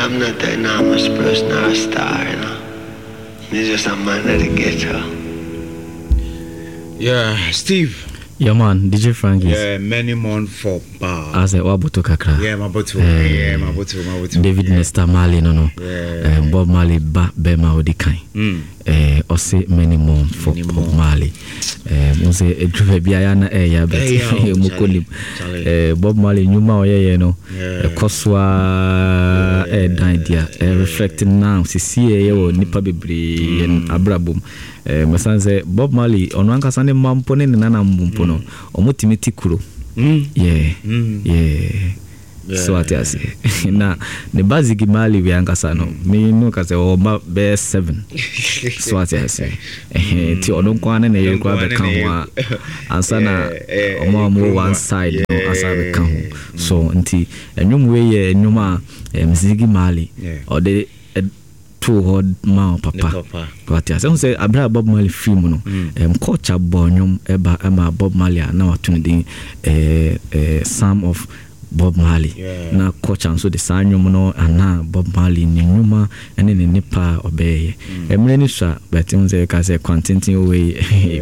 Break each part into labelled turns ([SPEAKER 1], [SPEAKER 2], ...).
[SPEAKER 1] I'm not an enormous person or a star, you know. Me just a man of the ghetto.
[SPEAKER 2] Yeah, Steve.
[SPEAKER 3] Yeah man, DJ Frankis.
[SPEAKER 2] Yeah, many more for bar.
[SPEAKER 3] Asɛ waboto kakra.
[SPEAKER 2] Yeah, maboto. Eh, yeah, maboto, maboto.
[SPEAKER 3] David
[SPEAKER 2] yeah.
[SPEAKER 3] Nesta Marley no no.
[SPEAKER 2] Yeah.
[SPEAKER 3] Eh, Bob Marley ba bɛma odi kan. Eh, ɔse many more for
[SPEAKER 2] Many
[SPEAKER 3] Bob
[SPEAKER 2] more.
[SPEAKER 3] Marley. Eh, mo sɛ ɛduru baabi a yɛ na ɛyɛ abɛt
[SPEAKER 2] Ɛyɛ o,
[SPEAKER 3] mu kɔ nim.
[SPEAKER 2] Charlie.
[SPEAKER 3] Eh, Bob Marley nnwuma a ɔyɛyɛ no
[SPEAKER 2] Yeah.
[SPEAKER 3] ɛkɔ so a ɛɛdan di a ɛreflect now sisi ɛyɛ wɔ nnipa bebree yɛn abrabɔ mu. Eh, mɛsan sɛ Bob Marley ɔno ankasa ne mma mpo ne ne nana mpo no ɔmo tumi te kuro. Yeah. Yeah. So ate aseɛ na ne ba Ziggy Marley wei ankasa no me no ka sɛ ɔwɔ mma bɛyɛ seven so ate aseɛ ɛhɛn nti ɔno nko ara ne ne yere koraa bɛka ho a ansa na ɔmo a ɔmo wɔ one side no asa bɛka ho so nti ɛnwom wei yɛ ɛnwom a Ziggy Marley ɔde too hɔ ma
[SPEAKER 2] Ne
[SPEAKER 3] papa
[SPEAKER 2] papa.
[SPEAKER 3] Wate ase ɛhu sɛ abere a Bob Marley firi mu no culture bɔ nnwom ɛba ɛma Bob Marley a na wato ne din Psalm of Bob Marley. Na culture nso de saa nnwom no anaa Bob Marley ne nnwuma ne ne nnepa a ɔbɛyɛ mmerɛ no sua but ɛhu sɛ ɛka sɛ kwantenten wei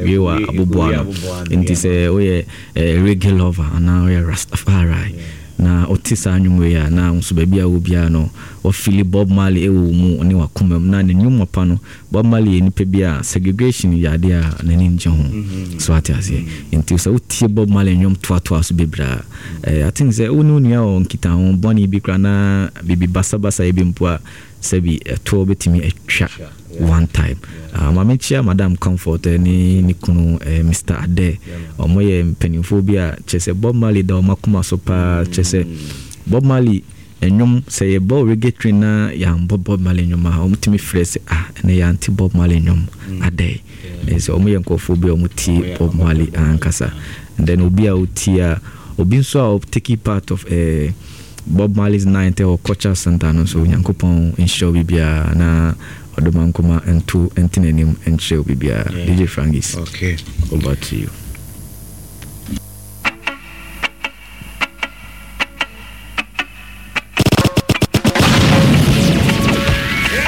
[SPEAKER 3] wie wɔ aboboa no nti sɛ woyɛ reggae lover anaa woyɛ Rastafari na wote saa nnwom wei a na nso baabi a wɔ biara no wɔfili Bob Marley ɛwɔ wo mu ne wakoma mu na ne nnwom pa no. Bob Marley yɛ nipa bi a segregation yɛ adeɛ a n'ani ngye ho so ate aseɛ nti sɛ wotie Bob Marley nnwom toatoa so bebree a I think sɛ wo ne wo nua wɔ nkitaho bɔne bi koraa na biribi basabasa bi mpo a sɛbi ɛtoɔ bɛtumi atwa one time. Maame kyia Madam Comfort ne ne kunu Mr. Ade. Ɔmo yɛ mpanimfoɔ bi a kyerɛ sɛ Bob Marley da ɔmo akoma so paa kyerɛ sɛ Bob Marley nnwom sɛ yɛbɔ reggae train na yɛambɔ Bob Marley nnwom a ɔmo tumi frɛ sɛ ah ɛnɛ yɛante Bob Marley nnwom adɛ sɛ ɔmo yɛ nkurɔfoɔ bi a ɔmo tie Bob Marley ankasa. And then obi a otie a obi nso a ɔtake part of Bob Marley's night ɛwɔ culture center no nso Onyankopɔn nhyira obi biara na ɔdoma nkoma nto nte n'anim nkyerɛ obi biara. DJ Frankis.
[SPEAKER 2] Okay.
[SPEAKER 3] Over to you.